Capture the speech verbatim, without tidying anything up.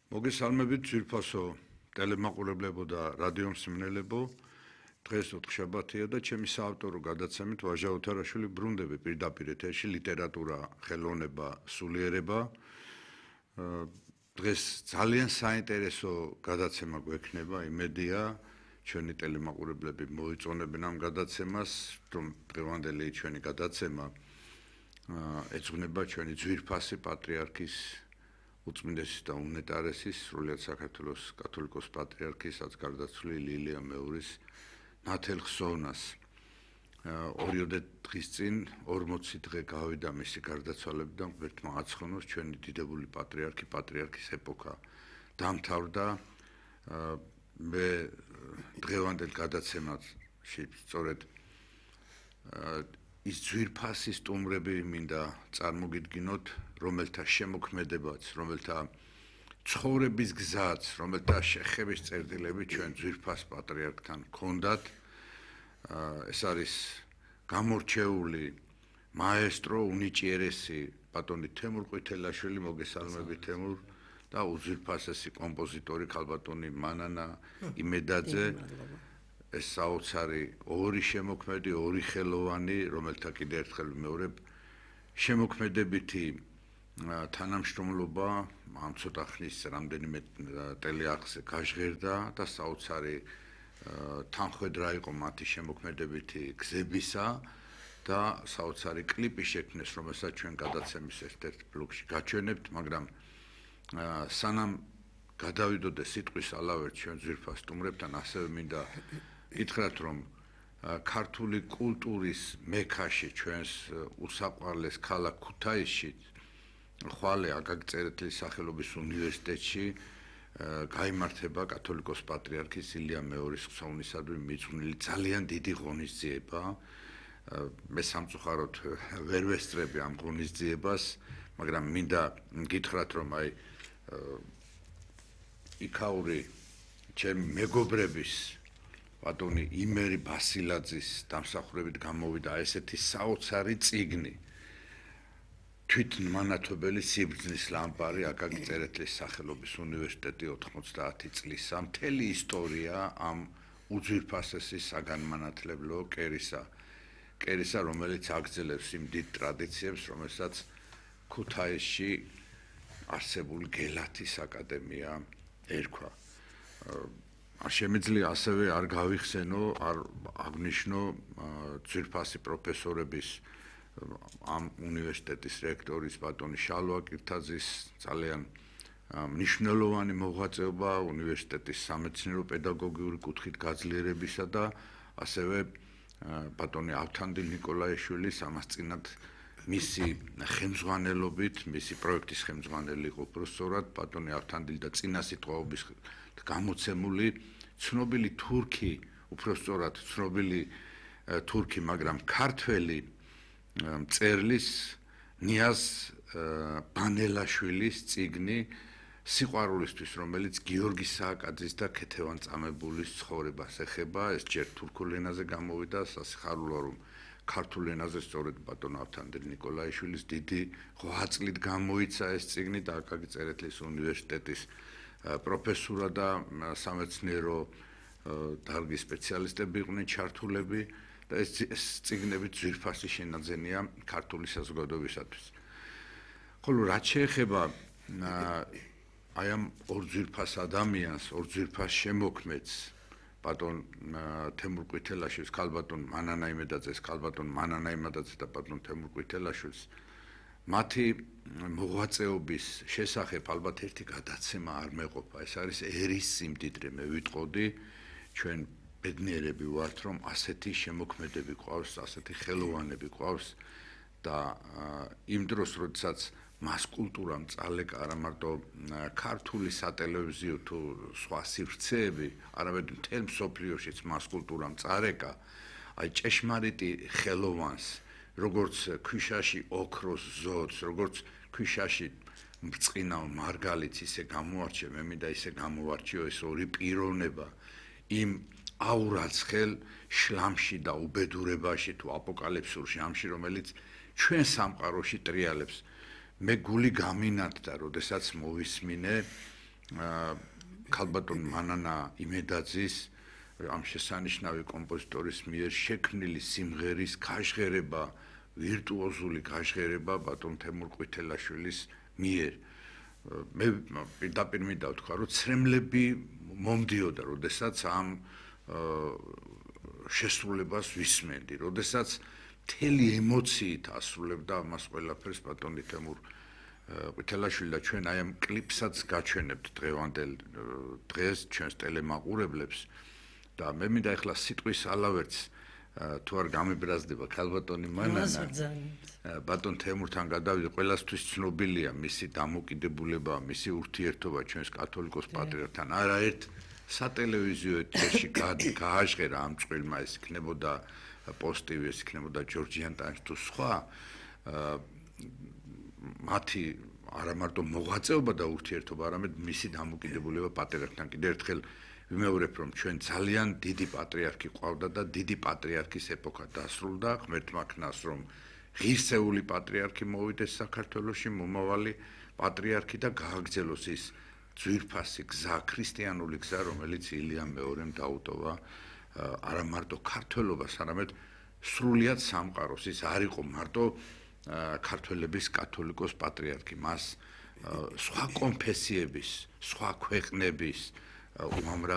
მოგესალმებით ძვირფასო ტელემაყურებლებო და რადიო მსმენელებო. დღეს ოთხშაბათია და ჩემი საავტორო გადაცემით ვაჟა ოთარაშვილი ბრუნდები პირდაპირ ეთერში ლიტერატურა, ხელოვნება, სულიერება. დღეს ძალიან საინტერესო გადაცემა გვექნება, იმედია ჩვენი ტელემაყურებლები მოიწონებენ ამ გადაცემას, რომ დღევანდელი ჩვენი გადაცემა ეძღვნება ჩვენი ძვირფასი პატრიარქის უწმინდესის და უნეტარესის სრულიად საქართველოს კათოლიკოს პატრიარქისაც გარდაცვლილი ლილია მეურის ნათელ ხსოვნას. ორიოდე დღის წინ ორმოცი დღე გავიდა მისი გარდაცვალებიდან, ღმერთმა აცხონოს ჩვენი დიდებული პატრიარქი, პატრიარქის ეპოქა დამთავრდა. მე დღევანდელ გადაცემაში სწორედ ის ძვირფასი სტუმრები მინდა წარმოგიდგინოთ, რომელთა შემოქმედებაც, რომელთა ცხოვრების გზაც, რომელთა შეხების წერტილები ჩვენ ძვირფას პატრიარქთან ჰქონდათ. ეს არის გამორჩეული მაესტრო უნიჭიერესი ბატონი თემურ ყვითელაშვილი, მოგესალმები თემურ, და უძვირფასესი კომპოზიტორი ქალბატონი მანანა იმედაძე. ეს საოცარი ორი შემოქმედი, ორი ხელოვანი, რომელთა კიდე ერთხელ ვიმეორებ, შემოქმედებითი თანამშრომლობა ამ ცოტა ხნის რამდენიმე ტელეარხზე გაჟღერდა და საოცარი თანხმედრა იყო მათი შემოქმედებითი გზებისა და საოცარი კლიპი შექმნეს, რომელსაც ჩვენ გადაცემის ერთ-ერთ ბლოკში გაჩვენებთ, მაგრამ სანამ გადავიდოდე სიტყვის ალავერთ ჩვენ ძვირფას სტუმრებთან, ასევე მინდა გითხრათ, რომ ქართული კულტურის მექაში, ჩვენს უსაყვარლეს ქალაქ ქუთაისში, ხვალე აკაკი სახელობის უნივერსიტეტში გაიმართება კათოლიკოს პატრიარქის ილია მეურის ხსოვნისადმი მიძღვნილი ძალიან დიდი ღონისძიება. მე სამწუხაროდ ვერ ვესწრები ამ ღონისძიებას, მაგრამ მინდა გითხრათ, რომ აი იქაური ჩემი მეგობრების ბატონი იმერი ბასილაძის დამსახურებით გამოვიდა ესეთი საოცარი წიგნი, თვითმანათობელი სიბრძნის ლამპარი აკაკი წერეთლის სახელობის უნივერსიტეტი ოთხმოცდაათი წლისა, მთელი ისტორია ამ უძვირფასესი საგანმანათლებლო კერისა, კერისა, რომელიც აგრძელებს იმ დიდ ტრადიციებს, რომელსაც ქუთაისში არსებული გელათის აკადემია ერქვა. არ შემიძლია ასევე არ გავიხსენო, არ აღნიშნო ძვირფასი პროფესორების, ამ უნივერსიტეტის რექტორის ბატონი შალვა კირთაძის ძალიან მნიშვნელოვანი მოღვაწეობა უნივერსიტეტის სამეცნიერო პედაგოგიური კუთხით გაძლიერებისა და ასევე ბატონი ავთანდილ ნიკოლაიშვილის ამასწინად მისი ხელმძღვანელობით, მისი პროექტის ხელმძღვანელი იყო უბრალოდ ბატონი ავთანდილ და წინა სიტყვაობის გამოცემული ცნობილი თურქი, უბრალოდ ცნობილი თურქი, მაგრამ ქართველი მწერლის ნიაზ ბანელაშვილის წიგნი სიყვარულისთვის, რომელიც გიორგი სააკაძის და ქეთევან წამებულის ცხოვრებას ეხება. ეს ჯერ თურქულ ენაზე გამოვიდა, სასიხარულოა, რომ ქართულ ენაზე სწორედ ბატონ ავთანდილ ნიკოლაიშვილის დიდი ღვაწლით გამოიცა ეს წიგნი და აკაკი წერეთლის უნივერსიტეტის პროფესურა და სამეცნიერო დარგის სპეციალისტები იყვნენ ჩართულები და ეს წიგნები ძვირფასი შენაძენია ქართული საზოგადოებისათვის. ხოლო რაც შეეხება აი ამ ორ ძვირფას ადამიანს, ორ ძვირფას შემოქმედს, ბატონ თემურ ყვითელაშვილს, ქალბატონ მანანა იმედაძეს, ქალბატონ მანანა იმედაძეს და ბატონ თემურ ყვითელაშვილს, მათი მოღვაწეობის შესახებ ალბათ ერთი გადაცემა არ მეყოფა. ეს არის ერის სიმდიდრე, მე ვიტყოდი, ჩვენ ბედნიერები ვართ, რომ ასეთი შემოქმედები ყავს, ასეთი ხელოვანები ყავს და იმ დროს, როდესაც მას კულტურამ წალეკა არა მარტო ქართული სატელევიზიო თუ სხვა სივრცეები, არამედ მთელ მსოფლიოშიც მას კულტურამ წარეკა, აი ჭეშმარიტი ხელოვანს, როგორც ქვიშაში ოქროს ზოდს, როგორც ქვიშაში ბრწყინავ მარგალიტს ისე გამოარჩე, მე მინდა ისე გამოვარჩიო ეს ორი პიროვნება იმ აურაცხელ შლამში და უბედურებაში თუ აპოკალიფსურ ჟამში, რომელიც ჩვენ სამყაროში ტრიალებს. მე გული გამინათდა, როდესაც მოვისმინე ქალბატონ მანანა იმედაძის ამ შესანიშნავი კომპოზიტორის მიერ შექმნილი სიმღერის გაჟღერება, ვირტუოზული გაჟღერება ბატონ თემურ ყვითელაშვილის მიერ. მე პირდაპირ მინდა ვთქვა, რომ ცრემლები მომდიოდა, როდესაც ამ შესრულებას ვისმენდი, როდესაც მთელი ემოციით ასრულებდა ამას ყველაფერს ბატონი თემურ ყვითელაშვილი და ჩვენ აი ამ კლიპსაც გაჩვენებთ დღევანდელ დღეს ჩვენს ტელემაყურებლებს და მე მინდა ახლა სიტყვის ალავერც თუ არ გამებრაზდება ქალბატონი მანანა ბატონ თემურთან გადავიდე ყველასთვის ცნობილია მისი დამოკიდებულება მისი ურთიერთობა ჩვენს კათოლიკოს პატრიარქთან არაერთ სატელევიზიო ეთერში გააჟღერა ამ წყვილმა ეს იქნებოდა პოსტივი ეს იქნებოდა ჯორჯიანტანში თუ სხვა მათი არა მარტო მოღვაწეობა და ურთიერთობა არამედ მისი დამოკიდებულება პატრიარქთან კიდევ ერთხელ ვიმეორებ რომ ჩვენ ძალიან დიდი პატრიარქი ყავდა და დიდი პატრიარქის ეპოქა დასრულდა ღმერთმა ქნას რომ ღირსეული პატრიარქი მოვიდეს საქართველოში მომავალი პატრიარქი და გააგრძელოს ის ძვირფასი გზა ქრისტიანული გზა რომელიც ილიამ მეორემ დაუტოვა არა მარტო ქართველობას არამედ სრულიად სამყაროს ის არ იყო მარტო ქართველების კათოლიკოს პატრიარქი მას სხვა კონფესიების სხვა ქვეყნების უამრავი